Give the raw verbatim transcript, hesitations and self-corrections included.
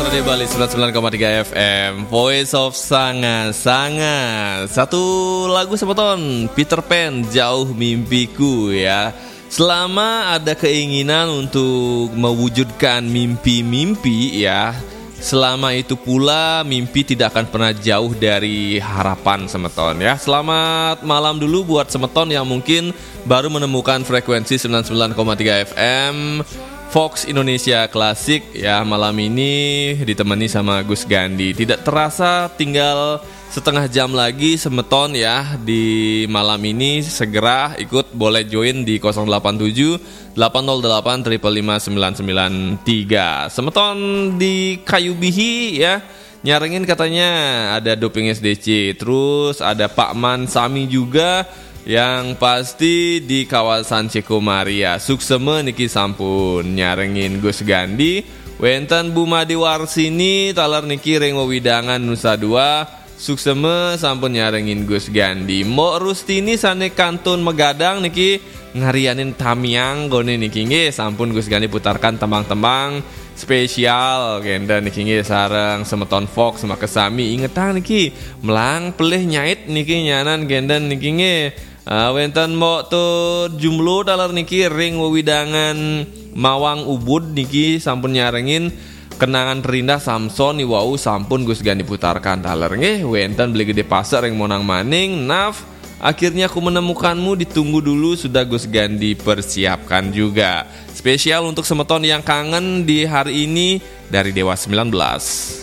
Di Bali sembilan sembilan koma tiga F M, Voice of Sanga-Sanga. Satu lagu semeton, Peter Pan, Jauh Mimpiku ya. Selama ada keinginan untuk mewujudkan mimpi-mimpi ya, selama itu pula mimpi tidak akan pernah jauh dari harapan semeton ya. Selamat malam dulu buat semeton yang mungkin baru menemukan frekuensi sembilan sembilan koma tiga F M Fox Indonesia Klasik ya. Malam ini ditemani sama Gus Gandi. Tidak terasa tinggal setengah jam lagi semeton ya di malam ini. Segera ikut, boleh join di nol delapan tujuh delapan nol delapan triple lima sembilan sembilan tiga. Semeton di Kayu Bihi ya, nyarengin katanya ada Doping S D C, terus ada Pak Man Sami juga. Yang pasti di kawasan Ceko Maria. Sukseme niki sampun nyarengin Gus Gandi. Wenten Bu Made Warsini taler niki ring wewidangan Nusa Dua. Sukseme sampun nyarengin Gus Gandi. Mbok Rustini sane kantun Megadang niki ngarianin tamiang gone niki nggih, sampun Gus Gandi putarkan tembang-tembang spesial kenten niki nggih, sareng semeton Fox makesami. Ingetang niki, melang pelih nyait niki nyanan kenten niki nggih. Ah, wenten Mbok Tut Jumlo taler niki ring wewidangan Mawang Ubud niki sampun nyarengin kenangan terindah Samson niwau, sampun Gus Gandi putarkan taler nggih. Wenten Beli Gede Pasek ring Monang Maning, Naf, Akhirnya Aku Menemukanmu, Ditunggu Dulu sudah Gus Gandi persiapkan juga. Spesial untuk semeton yang kangen di hari ini dari Dewa sembilan belas.